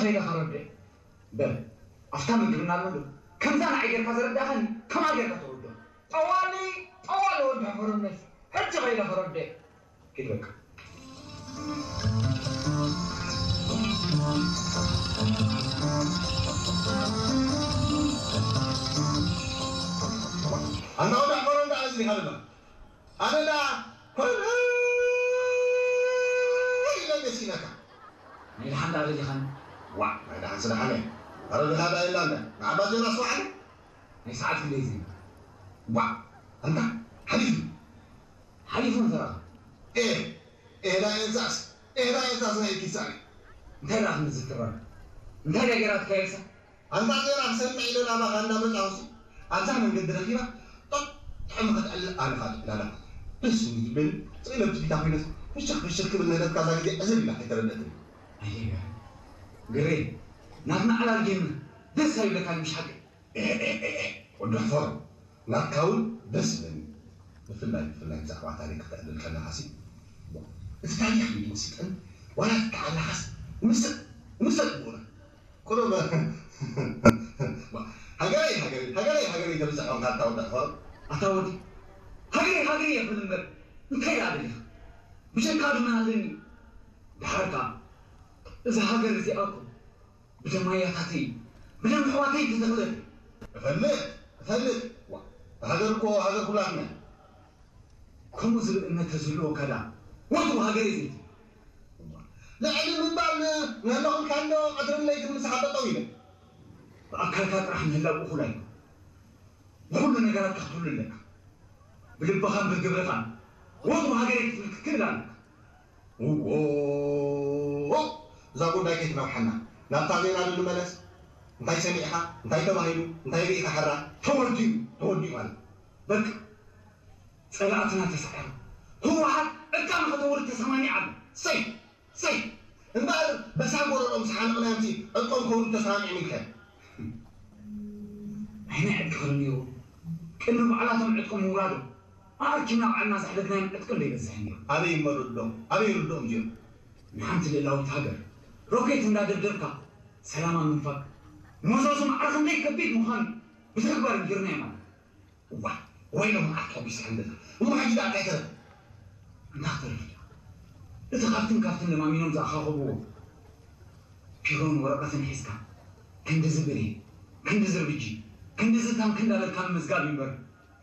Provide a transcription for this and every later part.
ከይደ ከረድእ። በል፣ ኣፍታ ምግብና ኣሎ ዶ? ከምዛ ንዓይ ጌርካ ዘረዳእኻኒ፣ ከምኣ ጌርካ ተረድኦ። ጠዋሊ፣ ጠዋሊ ወዲ ሕፈረነሽ፣ ሕጂ ከይደ ከረድእ። ኪድ በቃ። ኣንታ ወዲ ሕፈረ እንዳ ኣዝሊኻ ድማ። ኣነ ዳ ኮነ ኢለ መሲለካ። ናይ ደሓን ዳ ኣበሊኻኒ። ዋ፣ ናይ ደሓን ስለ ሓነ። ኣረ ድኻ ዳ ኢላ እንዳ። ንዓባ ዜና ስማዓኒ። ናይ ሰዓት ክንደይ ዜና? ዋ፣ ኣንታ ሓሊፉ። ሓሊፉ እንተረኻ። ኤ፣ ኤ ዳ ኤልሳስ፣ ኤ ዳ ኤልሳስ ናይ ኪሳኒ። እንታይ ደኣ ክንዲ ዝትረር? እንታይ ደኣ ገይራትካ ኤልሳ? ኣንታ ዜና ክሰምዕ ኢለ ናባኻ እንዳመጻኹሲ፣ ኣብዛ መንገዲ ረኺባ፣ ጦጥ ጥዑም ክትዕልል ኣነ ኸዓ ጥዕላላ። ደስ ዝብል፣ ስኢለ ብትቢታ ኮይነስ፣ ፍሽኽ ፍሽኽ ክብል ንህደትካ እዛ ግዜ ዕዝብ ኢላ ከይተረደእትኒ። ኣየ፣ ግሬ፣ ናትና ዕላል ጌምና ደስ ኣይብለካን ምሽ ሓቂ? ኤ፣ ኤ፣ ኤ፣ ኤ፣ ወዲ ሕፈሩ፣ ናትካ እውን ደስ ዝብለኒ። ብፍላይ፣ ብፍላይ ብዛዕባ ታሪኽ ክትዕልል ከለኻሲ፣ እቲ ታሪኽ እዩ ዝምስጠኒ። ዋላ ትከዓላኻስ፣ ምስጥ፣ ምስጥ ብኡና። ቁሩብ ሃገረይ ሃገረይ ሃገረይ ሃገረይ ተብዝሕ ኾንካ ኣታ ወዲ ኣኽፈር። ኣታ ወዲ ሃገረይ ሃገረይ የብል እምበር እንታይ ደኣ ደሊኻ? ብጀካ ድማ ኣለኒ። ደሓር ከኣ እዛ ሃገር እዚኣ እኮ ብደም ኣያታተይ ብደም ኣሕዋተይ ዝተተኽለት። እፈልጥ እፈልጥ። ዋ፣ ሃገር እኮ ሃገር ኩላትና። ከምኡ ዝብል እምነት ተዝህልወካ ደኣ ወትሩ ሃገረይ ዘይትብል። ልዕሊ ምባል ንህለኹልካ እንዶ ቀትርን ለይትን ምሳኻ ጠጠው ኢለ። ብኣካልካ ጥራሕ ምህላው እኹል ኣይኮን። ብኹሉ ነገራትካ ክትህሉ ኣለካ። ብልብኻን ብግብርኻን ወትሩ ሃገረይ ክትብል ክትክእል ኣለካ። እዎ፣ እዛ ጉዳይ ከይትነውሓና ናብታ ዜና ዶ ንመለስ። እንታይ ሰሚዕኻ? እንታይ ተባሂሉ? እንታይ ርኢኻ? ሕራ ተወዲኡ፣ ተወዲኡ ማለት በቃ። ጸላእትና ተሳዒሮም። ህወሓት ዕጥቃ ንኸተውርድ ተሰማሚዓ ኣላ። ሰይ! ሰይ! እምበኣር በሳል ጎረርኦም ዝሓነቕናዮምሲ ዕጥቆም ከውርዱ ተሰማሚዖም ኢልካዮም። ኣይ ናይ ዕጥቂ ክብል ነይሩ። ቅድሚ ባዕላቶም ዕጥቆም ምውራዶም ኣኣኪብና ባዕልና ዘሕደግናዮም ዕጥቂ እንዶ ይበዝሕ ነይሩ። ኣበይ እሞ ርድኦም? ኣበይ ርድኦም እዚኦም? ንሓንቲ ልእላዊት ሃገር ሮኬት እንዳደብደብካ ሰላማ ምንፋግ መዘዙ ማዕረ ክንደይ ከቢድ ምዃኑ ብተግባር ነጊርናዮም ኣለና። እዋይ፣ ወይሎም መዓት ተሓጒስካ እንድኻ። እሞ ሕጂ ደኣ እንታይ ተረፈ? እንታይ ክተርፍ ደኣ? እቲ ካብትን ካብትን ለማሚኖም ዝኣኻኸብዎ ቢሮን ወረቐትን ሒዝካ፣ ክንድዚ ብሬን፣ ክንድዚ ኣር ቢ ጂ፣ ክንድዚ ታንክ እንዳበልካ ምምዝጋብ እዩ እምበር፣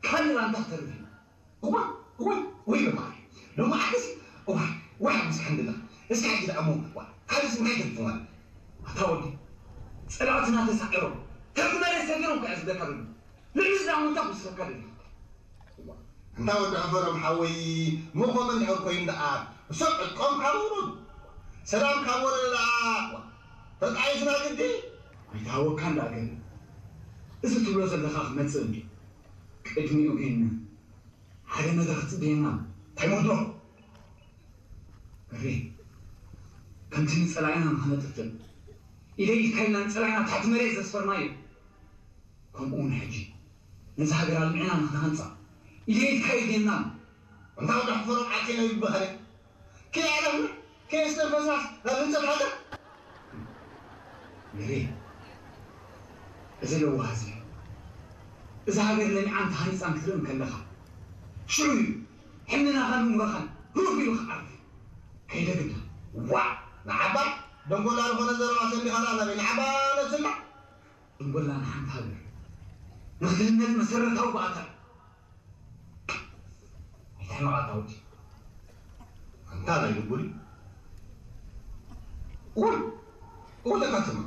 ካልእ ደኣ እንታይ ክተርፍ እዩ? እዋይ፣ እዋይ፣ ወይ ሎማዓት፣ ሎማዓትስ፣ እዋይ፣ ወይ ሓጒስካ እንድኻ። እስኪ ሕጂ ደኣ እሞ፣ ዋ፣ ካልእስ እንታይ ተሪፉ ማለት? ኣታ ወዲ፣ ጸላእትና ተሳዒሮም፣ ከምቲ መሬት ሰጊሮም ከኣ ዝብለካ ዘሎ። ልዕሊ እዚ ደኣ እንታይ ክውስኸካ ደሊኻ? እንታ ወዲ ሕፈሮም ሓወይ፣ ምኾመ እንድሕር ኮይኑ ደኣ፣ እሶም ዕጥቆም ካብ ኣውረዱ፣ ሰላም ካብ ወረደ ደኣ፣ ተጣይስና ግዲ። ኣይትሃወካን ደኣ ገለ። እዚ ትብሎ ዘለኻ ክመጽእ እንድዩ። ቅድሚኡ ግን ሓደ ነገር ክትጽበየና። እንታይ መድሮ? እሪ፣ ከምቲ ንጸላኢና ንኸነጥፍእ ኢደ ኢድካ ኢልና ንጸላኢና ታሕቲ መሬት ዘስፈርናዮ፣ ከምኡ እውን ሕጂ ነዛ ሃገር ኣልሚዕና ንኽንሃንጻ ኢደ ኢድካ ኢድና። እንታ ወዲ ሕፈሮም ዓርኬ ነው ይበሃል። ከየዕረፍና ከየስተንፈስናስ ናብ ህንጸት ሃገር። እሪ፣ እዚ ለዋህ እዚ፣ እዛ ሃገር ለሚዓን ተሃኒጻን ክትርኢ እንከለኻ፣ ሽዑ እዩ ሕልናኻን እምሮኻን ህውኽ ኢሉ ክዓርፍ። ከይደ ግዳ። ዋእ! ንዓባ ደንጎላ ዝኾነ ዘረባ ሰሚኻ ደኣ ናበይ? ንዓባ ነብስና? ደንጎላ ንሓንቲ ሃገር ንኽትህነጽ መሰረታዊ ባእታ እዩ። ኣይትሕመቕ ኣታ ወዲ። ኣንታ ናይ ድጉሪ። ቁል! ቁል ለካ ትማ።